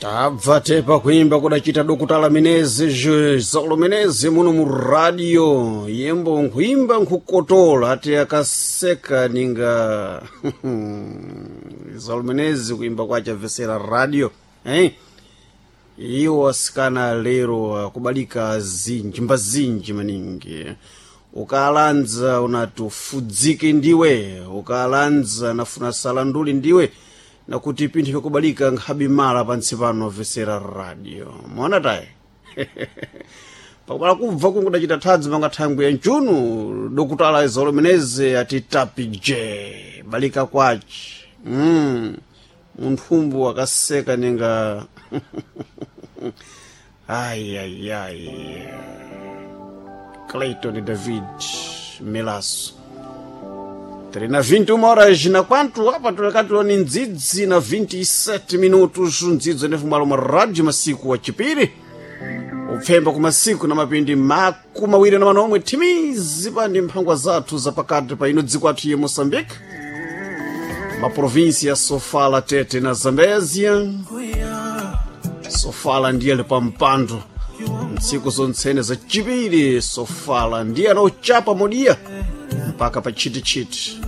Tabva tepa kuimba kudachita dokutala menezi Zaulo Menezi muno mu radio yembo nkuimba nkukotola ati akaseka ninga Zaulo Menezi kuimba kwacha vesera radio eh? Iwo asikana lero akubalika zinji mbazinji maningi. Ukalanza unati ufudzike ndiwe, ukalanza nafuna salanduli ndiwe, nakuti pinthu vyakubalika nkhabi mala pantsi pano vesera radio mona tayi pakubala kubva kungudachita thadzi manga thangwi ya mchunu dokutala Zaulo Menezi ati tapi je balika kwaci munthumbu akaseka ninga ayiayiayi. Clayton David Melaso 3 na 21 horas na quanto apa tulakatuloni ndzidzi na 27 minutos ndzidzo ndefumwalo mwa radio masiku wa chipiri upfemba kumasiku na mapindi 28 thimizi pandi mphangwa zathu zapakati pa ino dziko athu ye Moçambique, maprovinsi ya Sofala, Tete na Zambezia. Sofala ndiye ali pa mpando ntsiku zontsene za chipiri. Sofala ndiye anauchapa modiya mpaka pa chitichiti.